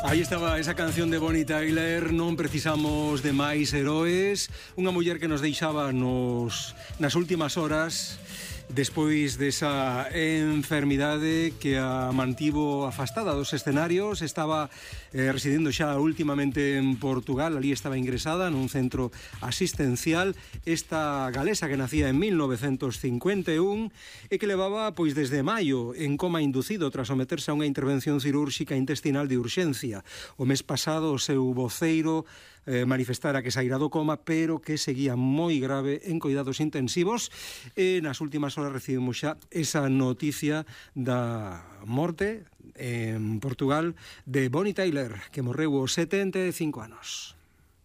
Aí estaba esa canción de Bonnie Tyler, Non precisamos de máis heroes, unha muller que nos deixaba nas últimas horas despois desa enfermidade que a mantivo afastada dos escenarios. Estaba residindo xa últimamente en Portugal, ali estaba ingresada nun centro asistencial. Esta galesa que nacía en 1951 e que levaba pois desde maio en coma inducido tras someterse a unha intervención cirúrxica intestinal de urxencia. O mes pasado o seu voceiro manifestara que saíra do coma, pero que seguía moi grave en cuidados intensivos. E nas últimas horas recibimos xa esa noticia da morte en Portugal de Bonnie Tyler, que morreu aos 75 anos.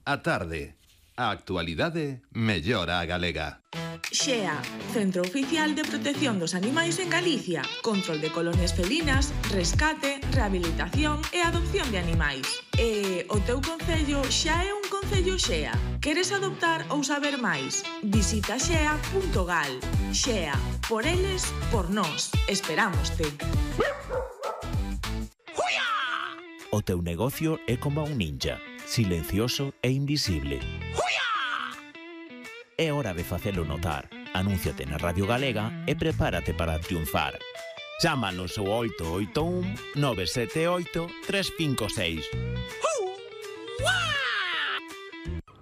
A tarde, a actualidade mellora a galega. XEA, Centro Oficial de Protección dos Animais en Galicia, control de colonias felinas, rescate, rehabilitación e adopción de animais. E o teu concello xa é un concello XEA. Queres adoptar ou saber máis? Visita xea.gal. XEA, por eles, por nós. Esperámoste. O teu negocio é como un ninja, silencioso e invisible. É hora de facelo notar. Anúnciate na Radio Galega e prepárate para triunfar. Chámanos ao 881 978 356.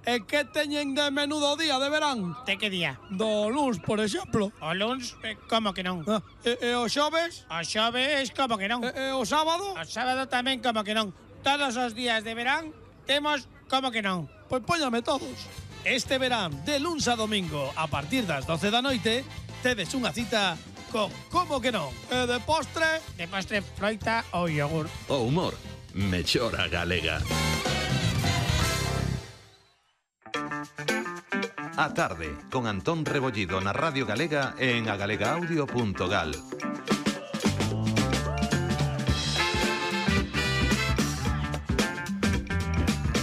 E que teñen de menudo día de verán? De que día? Do luns, por exemplo. O luns, como que non? E o xoves? O xoves, como que non? E o sábado? O sábado tamén, como que non? Todos os días de verán temos como que non? Pois póñame todos. Este verán, de luns a domingo, a partir das 12 da noite, tedes unha cita con como que non? E de postre? De postre, froita ou yogur. O humor mellora a galega. A tarde, con Antón Rebollido na Radio Galega e en agalegaudio.gal.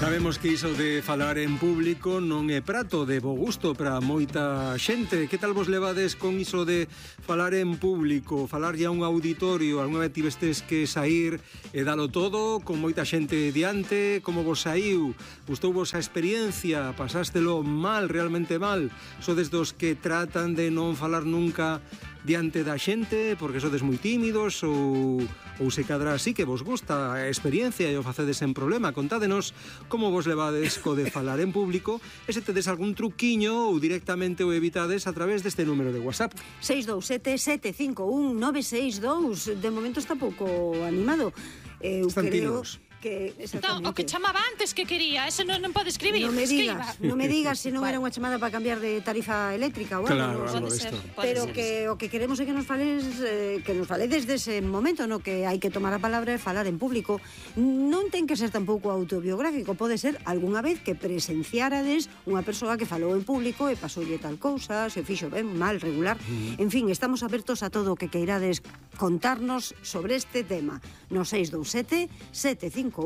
Sabemos que iso de falar en público non é prato de bo gusto para moita xente. Que tal vos levades con iso de falar en público, falarlle a un auditorio? Alguna vez tivestes que sair e dalo todo con moita xente diante? Como vos saiu? Gustou vos a experiencia? Pasástelo mal, realmente mal? Sodes dos que tratan de non falar nunca diante da xente porque sodes moi tímidos ou se cadra así que vos gusta a experiencia e o facedes en problema? Contádenos como vos levades co de falar en público e se tedes algún truquiño ou directamente o evitades a través deste número de WhatsApp. 627-751-962. De momento está pouco animado. Eu Están creo tímidos. que Entón, o que chamaba antes que quería, ese non pode escribir. Non me digas se non Vale. era unha chamada para cambiar de tarifa eléctrica ou algo. Claro, non algo sei. disto. Pero que o que queremos é que nos faledes dese momento no que hai que tomar a palabra e falar en público. Non ten que ser tampouco autobiográfico, pode ser algunha vez que presenciarades unha persoa que falou en público e pasoulle tal cousa, se fixo ben, mal, regular. En fin, estamos abertos a todo o que queirades contarnos sobre este tema. No 627 751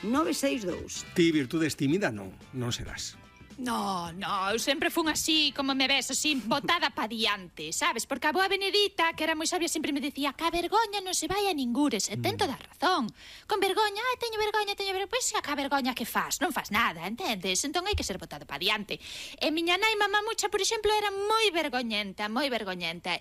962. Ti, virtudes tímida, non serás. No, eu sempre fun así, como me ves, así, botada pa diante, sabes? Porque a boa Benedita, que era moi sabia, sempre me decía que a vergoña non se vai a ningures, e ten toda a razón. Con vergoña, teño vergoña, pois a vergoña que fas? Non fas nada, entendes? Entón hai que ser botada pa diante. E miña nai mamá mucha, por exemplo, era moi vergoñenta,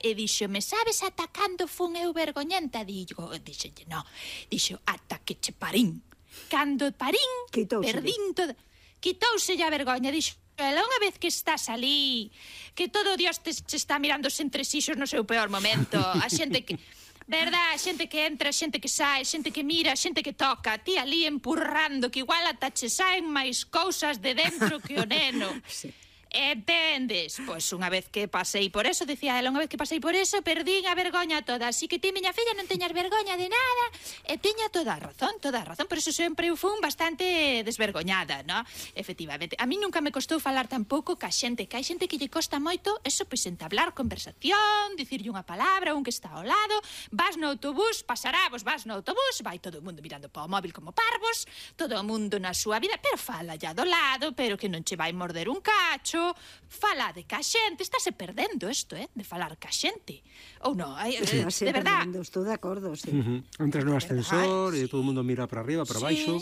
e díxome, sabes ata cando fun eu vergoñenta? Díxolle, no, dixo, ata que che parín. Cando parín, perdín todo. Quitouse a vergoña, dixo, ela unha vez que estás ali, que todo Dios te está mirando os entresixos no seu peor momento, a xente que... Verdad, xente que entra, xente que sai, xente que mira, xente que toca, ti ali empurrando, que igual ata che saen máis cousas de dentro que o neno. Sí. Entendes? Pois unha vez que pasei por eso, decía ela, unha vez que pasei por eso, perdín a vergoña toda. Así que ti, miña filla, non teñas vergoña de nada. E tiña toda a razón. Por eso sempre eu fun bastante desvergoñada, ¿no? Efectivamente. A mí nunca me costou falar tampouco ca xente, que hai xente que lle costa moito eso, pois entablar conversación, dicirlle unha palabra a un que está ao lado, vas no autobús, pasarávos, vas no autobús, vai todo o mundo mirando para o móvil como parvos, todo o mundo na súa vida, pero fala ya do lado, pero que non che vai morder un cacho, libro, falade ca xente, estáse perdendo isto, de falar ca xente. Ou non, de verdad. Estou de acordo, sí. Entras no ascensor e todo o mundo mira para arriba, para baixo,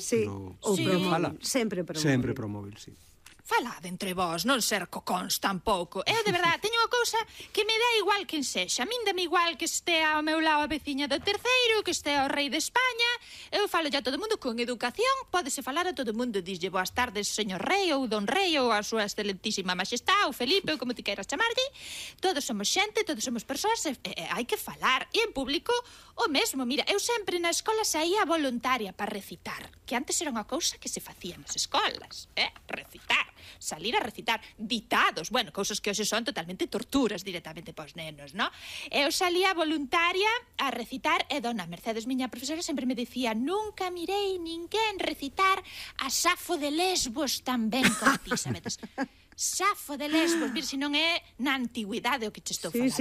ou pro móvil, sempre pro móvil. Sempre pro móvil, sí. Falade entre vós, non ser cocóns tampouco. Eu, de verdade, teño unha cousa que me dá igual quen sexa. A min dame igual que estea ao meu lado a veciña do terceiro, que estea o rei de España. Eu falo a todo mundo con educación. Pódese falar a todo mundo. Dislle boas tardes, señor rei, ou don rei, ou a súa excelentísima majestá, ou Felipe, ou como ti queiras chamarlle. Todos somos xente, todos somos persoas, hai que falar. E en público, o mesmo. Mira, eu sempre na escola saía voluntaria para recitar, que antes era unha cousa que se facía nas escolas, recitar. Salir a recitar ditados, bueno, cousas que hoxe son totalmente torturas directamente pos nenos, non? Eu salía voluntaria a recitar e dona Mercedes, miña profesora, sempre me dicía: nunca mirei ninguén recitar a Safo de Lesbos tan ben como ti, sabedes? Safo de Lesbos, vir, se non é na antigüidade o que che estou falando,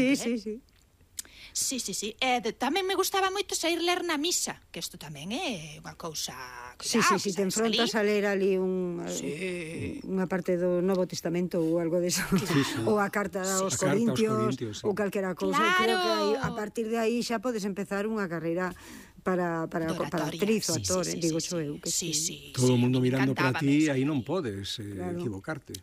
Sí. Tamén me gustaba moito sair ler na misa, que isto tamén é unha cousa... Sí, te enfrontas a ler ali unha parte do Novo Testamento ou algo deso, ou a carta aos Corintios, ou calquera cousa. Creo que a partir de aí xa podes empezar unha carreira para actriz ou actor, digo xo eu. Todo o mundo mirando para ti, aí non podes equivocarte.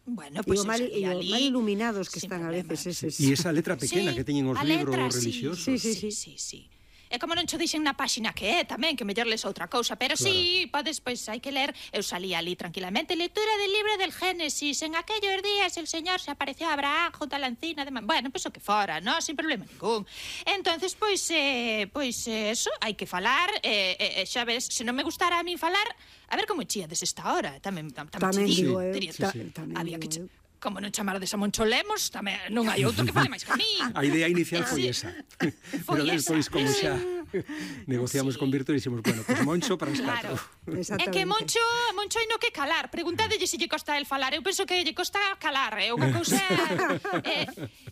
Bueno, pues mal iluminados que están a veces eses. E esa letra pequena que teñen os libros religiosos. Sí. É como non cho dixen na páxina que é tamén, que mellor les outra cousa, pero sí, podes, pois hai que ler. Eu salía ali tranquilamente, lectura del libro del Génesis, en aquellos días el Señor se apareció a Abraham junto a la encina de... Bueno, pois o que fora, non? Sin problema ningún. Entonces, pois eso, hai que falar, xa ves, se non me gustara a min falar, a ver como chíades esta hora, tamén digo eu, había que... Como non chamarades a Moncho Lemos, tamén non hai outro que fale máis que a mí. A idea inicial foi esa. Pero despois, como xa negociamos con Virto, dixemos, bueno, pues Moncho para as 4. É que Moncho hai no que calar. Preguntádelle se lle costa el falar. Eu penso que lle costa calar. É unha cousa...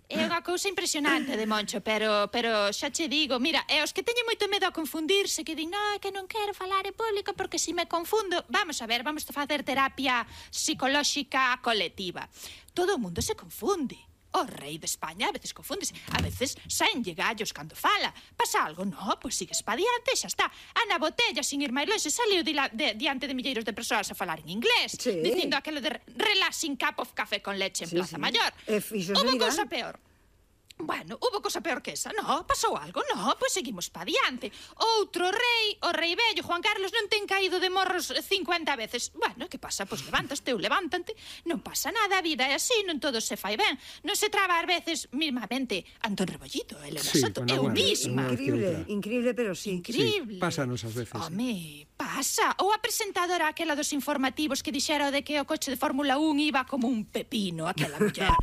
É unha cousa impresionante de Moncho, pero xa che digo, mira, os que teñen moito medo a confundirse, que din, non, é que non quero falar en público porque se me confundo... Vamos a ver, vamos a facer terapia psicolóxica colectiva. Todo o mundo se confunde. O rei de España a veces confúndese, a veces saenlle gallos cando fala. Pasa algo? No, pois sigues pa diante e xa está. Ana Botella, sin ir máis longe, saliu diante de milleiros de persoas a falar en inglés, dicindo aquelo de relaxing cup of café con leche en Plaza Mayor. Hubo cousa peor. Bueno, hubo cosa peor que esa, no? Pasou algo, no? Pois seguimos pa diante. Outro rei, o rei vello, Juan Carlos, non ten caído de morros 50 veces. Bueno, que pasa? Pois levantaste ou levántante. Non pasa nada, a vida é así, non todo se fai ben. Non se traba ás veces mismamente Antón Rebollido, Elena Soto, eu misma. Increíble, pero sí. Increíble. Pásanos ás veces. Home, pasa. Ou a presentadora aquela dos informativos que dixera de que o coche de Fórmula 1 iba como un pepino, aquela muller.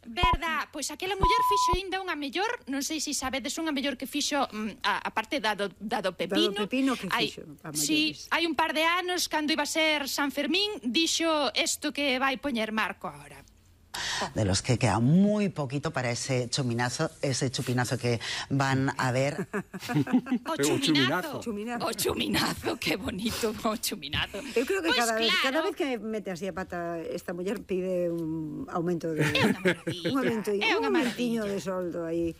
Verdad, pois aquela muller fixo ainda unha mellor, non sei se sabedes, unha mellor que fixo a parte da do pepino. Da do pepino que fixo a maiores. Sí, hai un par de anos, cando iba a ser San Fermín, dixo isto que vai poñer Marco agora. De los que queda muy poquito para ese chupinazo que van a ver. O chuminazo, qué bonito, o chuminazo. Eu creo que cada vez que mete así a pata esta muller pide un aumento de... É unha maravilla. De soldo aí.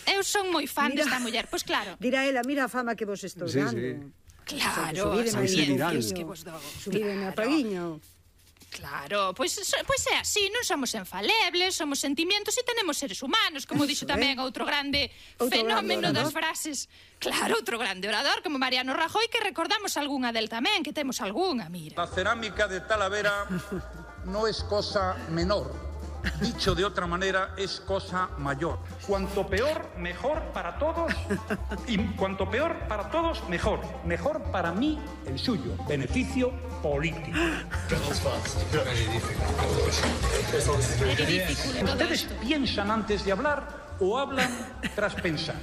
Eu son moi fan desta muller, pois claro. Dirá ela, mira a fama que vos estou dando. Claro, as audiencias que vos dou. Subídeme a paguiño. Claro, pois é así, non somos infalibles, somos sentimientos e tenemos seres humanos, como dixo tamén outro grande fenómeno das frases. Claro, outro grande orador como Mariano Rajoy, que recordamos algunha del tamén, que temos algunha, mira. La cerámica de Talavera no es cosa menor. Dicho de otra manera, es cosa mayor. Cuanto peor, mejor para todos. Y cuanto peor para todos, mejor. Mejor para mí, el suyo. Beneficio político. ¿Ustedes piensan antes de hablar o hablan tras pensar?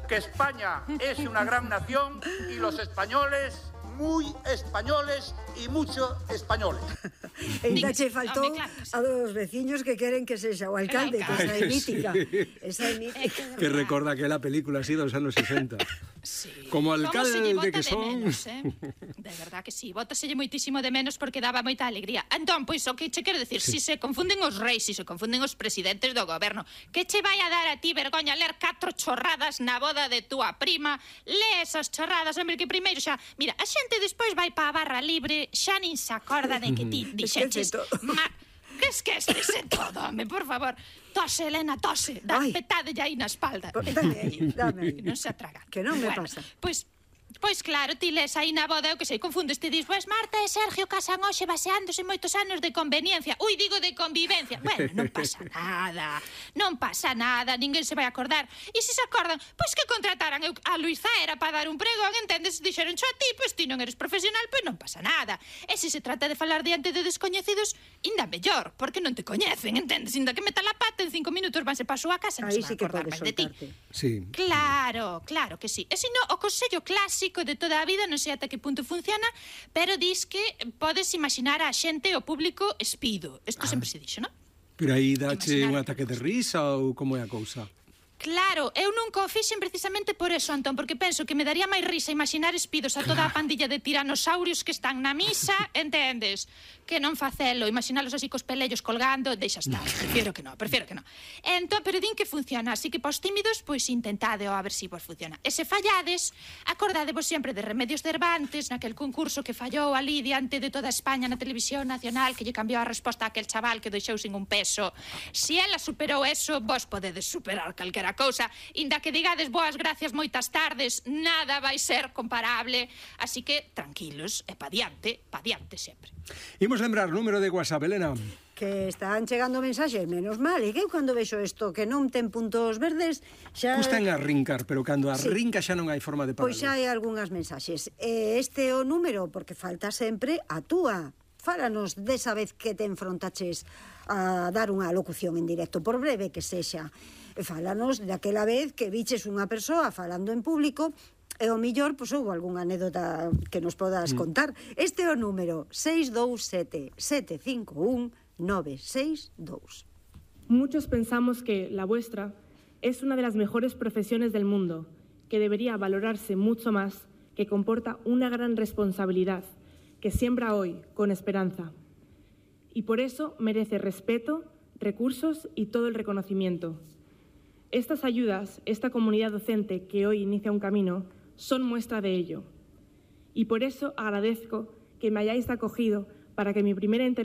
Que España es una gran nación y los españoles... muy españoles y mucho españoles. Ainda che faltou a dos veciños que queren que sexa o alcalde, que esa é mítica. Que recorda aquela película así dos anos 60. Sí. Como alcalde que son... Menos, De verdad que sí, bótaselle moitísimo de menos porque daba moita alegría. Entón, pois, o que che quero decir, si se confunden os reis, si se confunden os presidentes do goberno, que che vai a dar a ti vergoña ler 4 chorradas na boda de túa prima? Lee esas chorradas, hombre, que primeiro xa... Mira, a xente despois vai pa a barra libre, xa nin se acorda de que ti dixeches... Que esquecese todo, home, por favor. Tose, Elena, tose. Dá petade aí na espalda. Dame. Non se atraga. Que non me pasa. Pois claro, ti les aí na boda, eu que sei, confundes, ti dis, pois Marta e Sergio casan hoxe baseándose moitos anos de conveniencia. Ui, digo de convivencia. Bueno, non pasa nada. Non pasa nada, ninguén se vai acordar. E se acordan, pois que contrataran a Luis Zaera para dar un pregón, entendes? Dixeron xo a ti, pois ti non eres profesional, pois non pasa nada. E se trata de falar diante de descoñecidos, inda mellor, porque non te coñecen, entendes? Inda que meta la pata, en 5 minutos vanse pa súa casa e non se van acordar máis de ti. Sí. Claro que sí. E se non, o consello clásico de toda a vida, non sei ata que punto funciona, pero dis que podes imaginar a xente, o público, espido. Isto sempre se dixo, non? Pero aí dache un ataque de risa ou como é a cousa? Claro, eu nunca o fixen precisamente por eso, Antón, porque penso que me daría máis risa imaginar espidos a toda a pandilla de tiranosaurios que están na misa, entendes? Que non facelo, imaginalos así cos pelellos colgando, deixa estar, prefiero que non. Entón, pero din que funciona, así que pos tímidos, pois intentade a ver si vos funciona. E se fallades, acordadevos sempre de Remedios Cervantes, naquel concurso que fallou ali diante de toda España na televisión nacional, que lle cambiou a resposta a aquel chaval que deixou sin un peso. Si ela superou eso, vos podedes superar calquera cousa, inda que digades boas gracias moitas tardes, nada vai ser comparable, así que tranquilos e pa diante sempre. Imos lembrar número de WhatsApp, Elena. Que están chegando mensaxes, menos mal, e que eu cando vexo isto que non ten puntos verdes xa... Custa en arrincar, pero cando arrinca xa non hai forma de paralo. Pois xa hai algunhas mensaxes. Este é o número, porque falta sempre a túa. Fálanos desa vez que te enfrontaches a dar unha locución en directo, por breve que sexa. Fálanos daquela vez que viches unha persoa falando en público e o millor, pois, houve algunha anécdota que nos podas contar. Este é o número 627-751-962. Muchos pensamos que la vuestra es una de las mejores profesiones del mundo, que debería valorarse mucho más, que comporta una gran responsabilidad, que siembra hoy con esperanza. Y por eso merece respeto, recursos y todo el reconocimiento. Estas ayudas, esta comunidad docente que hoy inicia un camino, son muestra de ello. Y por eso agradezco que me hayáis acogido para que mi primera intervención